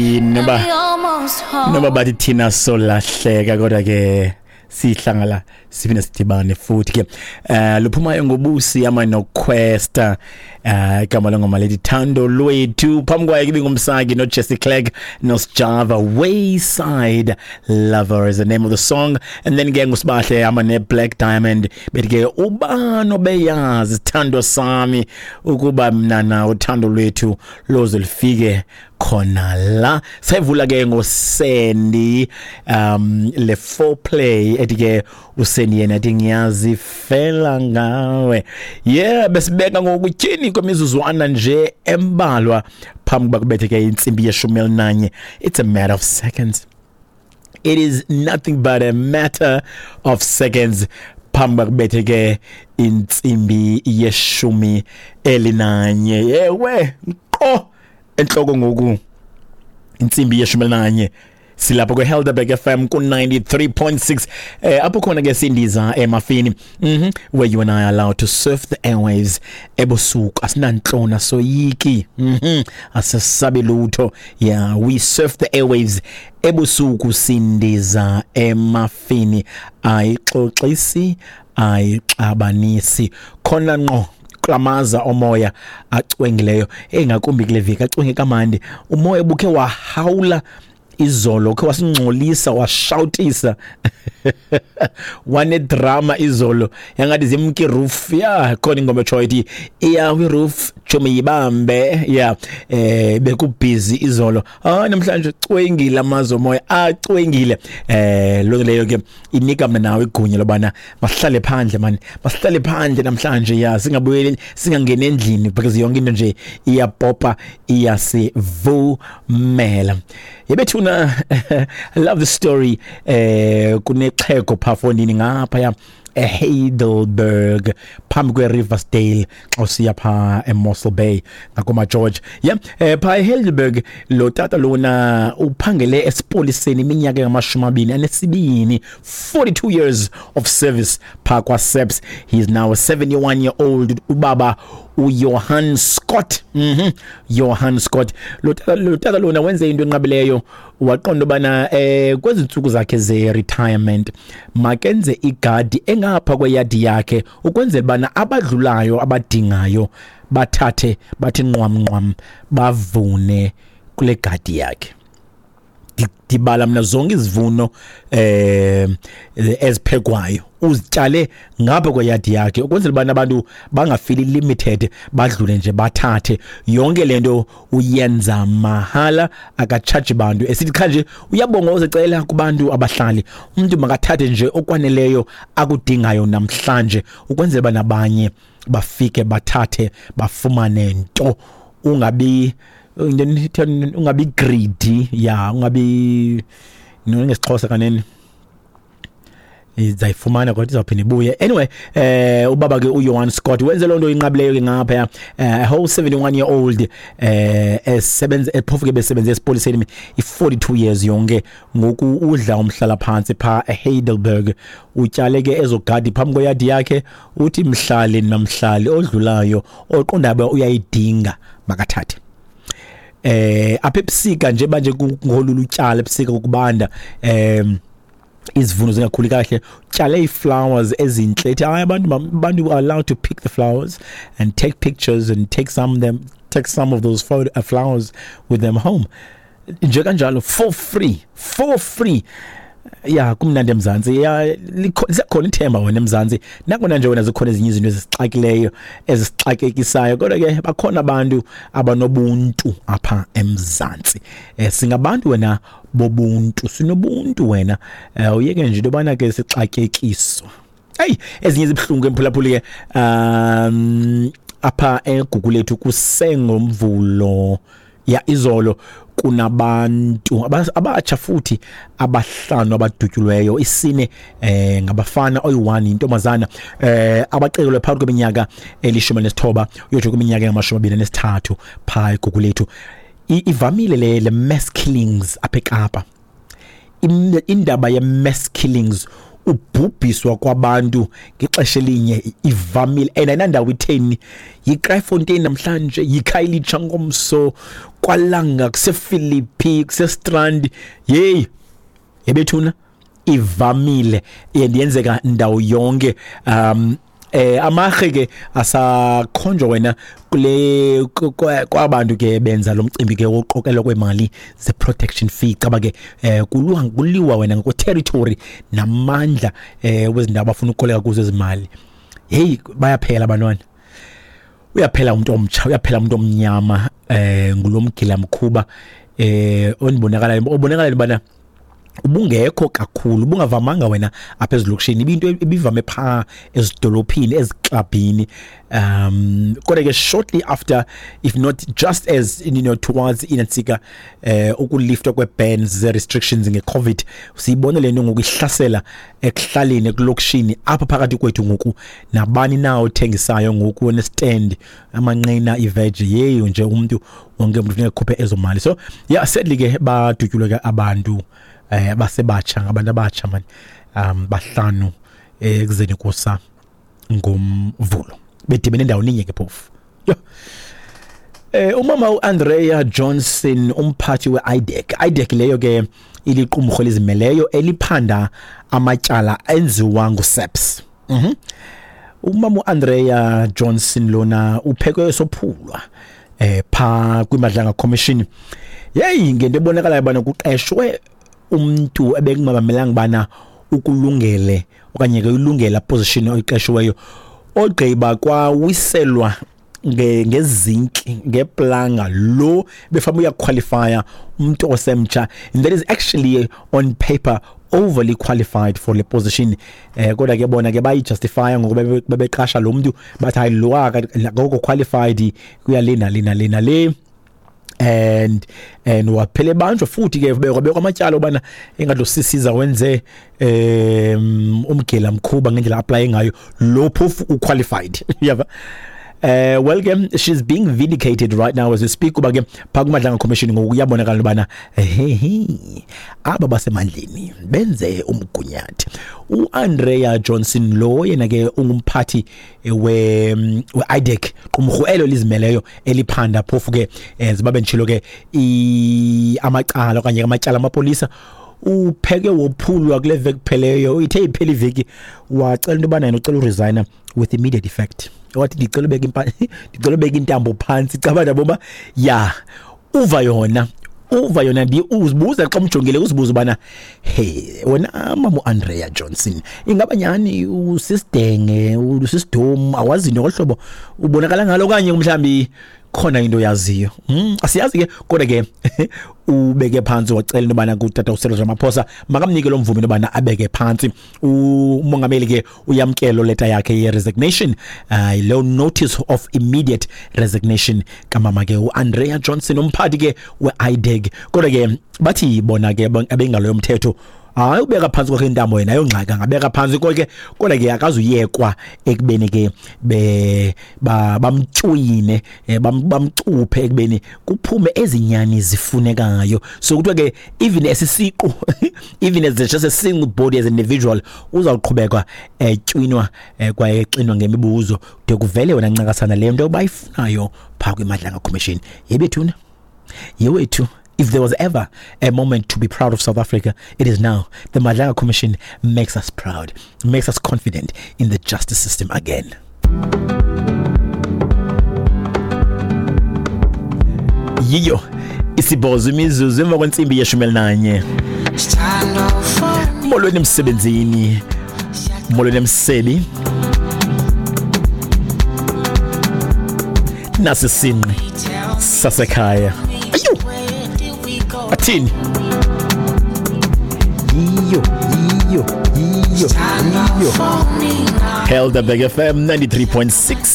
Noba bathi thina solahleka, kodwa ke sihlangala siphinde sidibane futhi ke. Luphumayo ngobusi ama noQuesta, igama lengoma lethi Thando Lwethu. Phambi kwayo ke ibingumsaki noJesse Clegg noSjava, Wayside Lover is the name of the song. And then ke nguSibahle ama neBlack Diamond, bethi ke ubani obeyazi sithando sami ukuba mna na uthando lwethu loze lufike khona la. Sayivula ke ngoSandy, le foreplay ethi ke uSandy yena athi ngiyazifela ngawe. Yeah, besibeka ngokutyhini kwemizuzwana nje embalwa phambi kuba kubethe ke intsimbi ye-11. It's a matter of seconds. It is nothing but a matter of seconds phambi kuba kubethe ke intsimbi ye-11. Yewe nqo enhloko ngoku intsimbi ye-11, silapho kwe-Helderberg FM ku-93.6, apho khona ke sindiza emafini, where you and I are allowed to surf the airwaves ebusuku. Asinantlona, soyiki, asesabi lutho. Yeah, we surf the airwaves ebusuku, sindiza emafini, ayixoxisi, ayixabanisi, khona ngqo klamaza omoya acwengileyo, engakumbi kule veki acwenge kamandi. Umoya bukhe wahawula izolo, khe wasingcolisa, washawutisa, wanedrama izolo, yangathi zimke roof. Ya, khona ingoma etshoyo ithi iyawi roof chomi yibambe. Ya, bekubhizi izolo. Namhlanje cwengile amazwe omoya, acwengile. Loo leyo ke inika mna nawe igunya lobana masihlale phandle man, masihlale phandle namhlanje. Ya, singabuyeli, singangeni endlini, because yonke into nje iyapopa, iyasivumela. Yebethuna, I love the story. Kunexhego pha fondini ngapha eHeidelberg phambi kweRiversdale xa usiya pha eMossel Bay ngakoma George. Yeah, pha eHeidelberg lo tata lona uphangele esipoliseni iminyaka engamashumi abini anesibini, 42 years of service pha kwa-SAPS. He is now a 71 year old ubaba uJohan Scott. Johan Scott, lo tata lona wenze into enqabileyo, waqonda ubana kwezi ntsuku zakhe ze-retirement makenze igadi engapha kweyadi yakhe ukwenzela ubana abadlulayo abadingayo bathathe, bathi nqwam nqwam, bavune kule gadi yakhe. Ndibala mna zonke izivuno eziphekwayo, uzityale ngapha kweyadi yakhe ukwenzela ubana abantu bangafili limited, badlule nje bathathe. Yonke lento uyenza mahala, akatshaji bantu, esithi qha nje uyabonga, uzecela kubantu abahlali, umuntu makathathe nje okwaneleyo akudingayo namhlanje ukwenzela uba nabanye bafike bathathe, bafumane nto. Ungabi ungabi greedy, ya, ungabi ngesiXhosa kanene izayifumana kodwa izawuphinda ibuye. Anyway, ubaba ke uJohan Scott wenze loo nto inqabileyo ke ngapha, a whole 71 year old, esebenza, phofu ke besebenze esipoliseni i-42 years yonke. Ngoku udla umhlala phantsi pha eHeidelberg, utyale ke ezogadi phambi kweyadi yakhe, uthi mhlali namhlali odlulayo oqonda uba uyayidinga makathathe. Apha ebusika nje banje kungolula utyala ebusika, ukubanda, izivuno zingakhuli kahle, tyale ii-flowers ezintle, ethi hayi, abantu are allowed to pick the flowers and take pictures and take some of those flowers with them home nje kanjalo, for free, for free. Ya, kumnandi eMzantsi. Ya, likhona ithemba wena eMzantsi, nakona nje wena zikhona ezinye izinto ezisixakileyo, ezisixakekisayo, kodwa ke bakhona abantu abanobuntu apha eMzantsi. Singabantu wena bobuntu, sinobuntu wena. Uyeke nje into yobana ke sixakekiswa. Eyi, ezinye zibuhlungu emphulaphuli ke. Apha eGugulethu kusengoMvulo, ya, izolo, kunabantu abatsha futhi abahlanu abadutyulweyo, isine ngabafana, oyi-1 intombazana, abacekelwe phakathi kweminyaka eli-19 uyotsho kwiminyaka engama-23 phaa eGugulethu. Ivamile le mass killings apha eKapa. Indaba ye-mass killings. Ubhubhiswa kwabantu ngexesha elinye ivamile and ayinandawo itheni. YiKraaifontein namhlanje, yiKhayelitsha ngomso, kwaLanga, kusePhilippi, kuseStrand. Yeyi yebethuna, ivamile and yenzeka ndawo yonke. Amarhe ke asakhonjwa wena kule kwabantu ke benza lo mcimbi ke wokuqokelwa kwemali ze-protection fee. Caba ke kuliwa wena ngokwe-territory namandla wezindawo abafuna ukukoleka kuzo ezimali. Hey, bayaphela abantwana, uyaphela umuntu omtsha, uyaphela umuntu omnyama ngulomgila mkhuba onibonakalayo, obonakala bana ubungekho kakhulu, ubungavamanga wena apha ezilokishini, ibinto ebivame pha ezidolophini, eziklabhini. Kodwa ke shortly after, if not just as you know, towards inantsika ukuliftwa kwe-bans, ze-restrictions nge-COVID, siyibone le nto ngoku ihlasela ekuhlaleni, ekulokishini apha phakathi kwethu ngoku. Nabani na othengisayo ngoku onestand, amanqina, iveji, yeyo nje umntu wonke umntu funeka ekhuphe ezo mali. So yeah, sadly ke badutyulwe ke abantu abasebatsha, ngabantu abatsha man, 5 ekuzeni kusa ngoMvulo, bedibene endaweni inye ke phofu. Yho. Umama uAndrea Johnson, umphathi we-IDAC, IDAC leyo ke iliqumrhu elizimeleyo eliphanda amatyala enziwa nguSAPS. Umama uAndrea Johnson lona uphekwe esophulwa pha kwiMadlanga Commission. Yeyi, ngento ebonakalayo bana kuqeshwe umntu ebekungabamelanga bana ukulungele okanye ke uyilungela position oyiqeshiweyo, ogqiba kwawiselwa ngezinki, ngeplanga lo befama uyaqualifya umuntu osemtsha, and that is actually on paper overly qualified for le position. Kodwa ke bona ke bayijustifya ngokuba bebeqasha lo mntu, bathi hayi lo akakho qualified kuya le nale nale nale, and waphela ebanjwa futhi ke bekwa amatyala ubana engathi lo sisiza wenze umgela mkhuba ngendlela apply ngayo lo phofu uqualified. Yava. Well ke she's being vindicated right now as we speak, kuba ke phaa kuMadlanga Commission ngoku kuyabonakala ubana hehe aba basemandleni benze umgunyathi. uAndrea Johnson lo yena ke ungumphathi we-IDAC, qumrhu elo lizimeleyo eliphanda phofu ke zibabe nditshilo ke amacala okanye amatyala amapolisa. Upheke wophulwa kule veki kupheleyo, ithe iphela iveki wacela into yobana yena ucela uresigna with immediate effect. Wathi ndicela ubeka ndicela ubeka intambo phantsi, caba ndabo uba ya uva yona, uva yona. Uzibuza xa umjongile, uzibuza ubana hey wena mama uAndrea Johnson, ingaba nyhani usisidenge, usisidomu, awazi into ngolu hlobo ubonakala ngalo, okanye mhlawumbi khona into yaziyo. Asiyazi ke, kodwa ke ubeke phantsi wacela into yobana kutata uCyril Ramaphosa makamnike lo mvume into yobana abeke phantsi. Umongameli ke uyamkelo leta yakhe ye-resignation, leyo notice of immediate resignation kamama ke uAndrea Johnson, umphathi ke we-IDAC. Kodwa ke bathi bona ke abengalo yomthetho, hayi ubeka phantsi kwakhe intambo yena ayongxaki, angabeka phantsi konke, kodwa ke akazuyekwa ekubeni ke bamtywine, bamcuphe ekubeni kuphume ezinyani zifunekayo. So kuthiwa ke even esisiqu, even as just a single body as an individual, uzawuqhubeka etywinwa kwaye exinwa ngemibuzo de kuvele wena ncakasana le nto bayifunayo phaa kwiMadlanga Commission. Yebethuna, yewethu. If there was ever a moment to be proud of South Africa, it is now. The Madlanga Commission makes us proud, makes us confident in the justice system again. Yiyo isibhozo imizuzu emva kwentsimbi ye-11. Molweni emsebenzini, molweni emsebi. Nasi sinqi sasekhaya. Ayo! Athini? Iyo, iyo, iyo, iyo. Helderberg FM 93.6.